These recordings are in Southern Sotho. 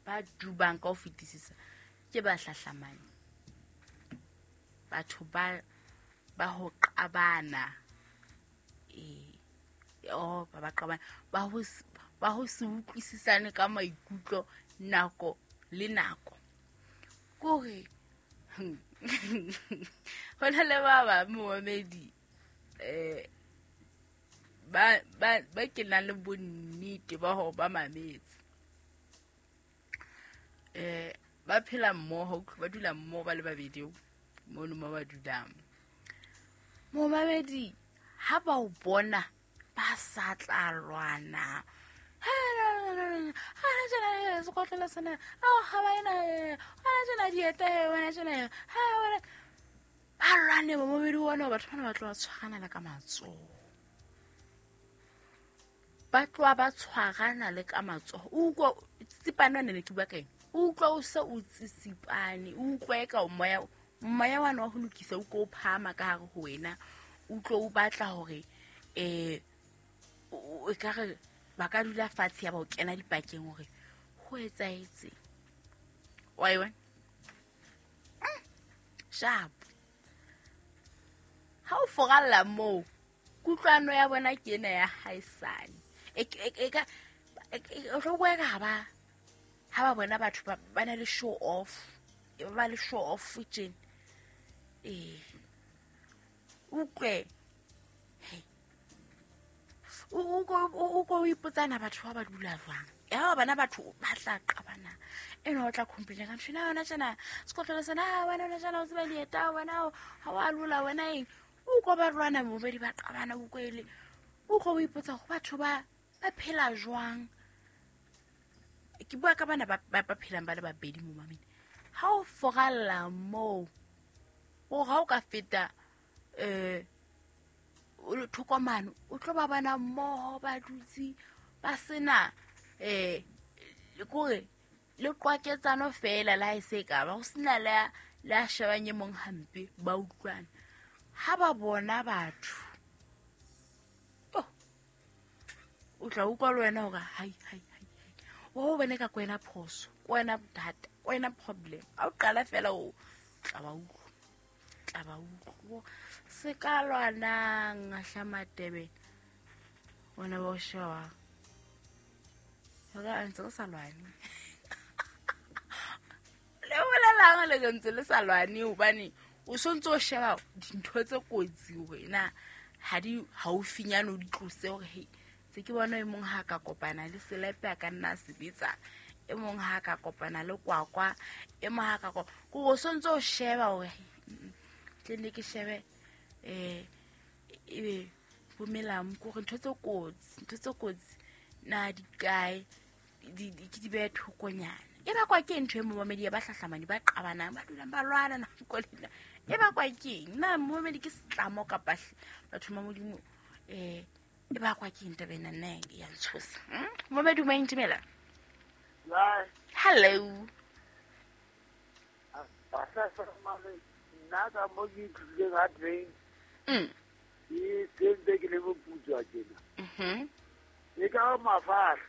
Ba dubang ka ho fetisisa ke ba hlahlamane. Batho ba ho qabana. Oh, ba qabana. Ba ho se utlwisisane ka maikutlo nako le nako. Kore ho na le ba bang momamedi ba ke nang le bonnete ba hore ba mametse. Ba phela mmoho, ba dula mmoho ba le babedi mono mo ba dulang. Momamedi ha ba o bona ba sa tla lwana. Sekotlolo sena, ha ba ena, hona tjena dieta, hona tjena, ba lwane momamedi ona, batho bana ba tloha tshwarana le ka matsoho. Ba tloha ba tshwarana le ka matsoho. O utlwa tsitsipane wane ne ke bua ka eng? O utlwa o se o tsitsipane, o utlwa eka o moya wane wa ho lokisa o ko o phahama ka hare ho wena. O utlwa o batla hore o ekare ba ka dula fatshe ya ba o kena dipakeng hore ho etsahetse. Wa e bona? Sharp. Ha o foralla moo, kutlwano ya bona ke ena ya haesale. O tlo bua ka ha ba bona batho ba na le show off. Ba le show off tjena. Utlwe. Hey. O ko o ipotsana batho ba dula jwang. Ya ba bana batho ba tla qabana. Eno o tla complain ka ntho ena yona tjena. Sekotlolo sena, wena ona tjena o tseba dieta, wena ha wa lola, wena eng. O ko ba lwana mobedi ba qabana o kwele. O ko o ipotsa go batho ba phela jwang. Ke bua ka bana ba phelang ba le babedi mo mameng. Ha o foralla moo, o ha o ka feta o thokomano, o tlo ba bana mmoho ba dutse ba sena kore le qwaketsano fela la e se ka ba go sena le a shebang e mong hampe ba utlwana. Ha ba bona batho, o tla utlwa le wena hore hai hai hai, o bone ka kwena phoso, kwena bothata, kwena problem. Ha o qala fela o tla ba utlwa, tla ba utlwa. Se ka lwanang hlamatebe wena ba o sheba. Hore a ntse re sa lwane. Le bolelang le ntse le sa lwane hobane o sontse o sheba dintho tse kotsi hore na ha di haufinyane o di tlose hore hei se ke bona e mong ha ka kopana le selepe a ka nna a sebetsa, e mong ha ka kopana le kwakwa, e mong ha ka ko o sontse o sheba hore tle ne ke shebe ebe bomelang ko re ntho tse kotsi na di kae, di ke di behe thokonyana. E bakwa ke ntho e momamedi ya ba hlahlamane ba qabanang, ba dulang ba lwana nako le nako. E bakwa ke eng? Na momamedi ke setlamo kapa batho ba Modimo, e bakwa ke eng taba ena? Nna ya ntshosa. Momamedi o maintimela? Hello. Nna ka mo ke ithutileng ha teng. Ke sentse ke le boputswa tjena. E ka mafahla.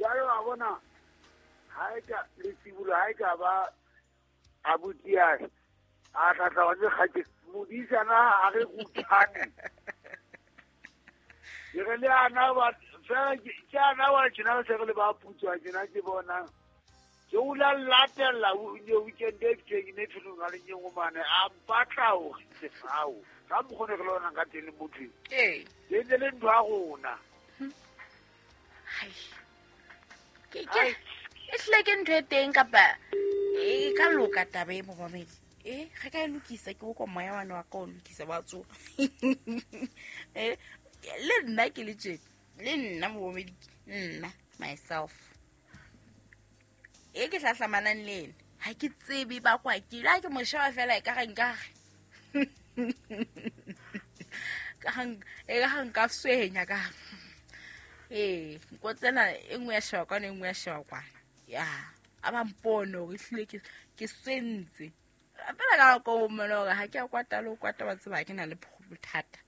Jwale wa bona ha e ka letsibolo ha e ka ba abuti ya a tla tla wa kgake modisana a re kuthane. Ke re le ana ba fela ke ana wa tjena se re le ba putswa tjena ke bona. Ke o la latella o ne weekend e teng ne tsholo ga le nyeng mane a mpatla hore sefao ka mokgone re lona ka teng le motho. Ee. Ke ntse le ntho ya rona. Hai. Ke e hlile ke ntho e teng kapa e ka loka taba e momamedi. Re ka e lokisa ke go moya wane wa ka o lokisa wa tsoha. Le nna ke le tjena, le nna momamedi, nna myself. E ke hlahlamanang le ena, ha ke tsebe ba kwa ke la ke mo sheba fela e ka re nka re. Ka e ka nka swenya ka. Nko tsena e nngwe ya sheba kwana, e nngwe ya sheba kwana. Ya, a ba mpone hore ehlile ke swentse. Fela ka nako o mmone hore ha ke a kwata le ho kwata wa tseba ha ke na le bothata.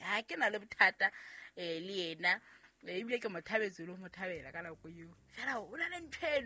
Ha ke na le bothata le yena. Ebile ke mo thabetse le ho mo thabela ka nako eo. Fela o na le ntho eno.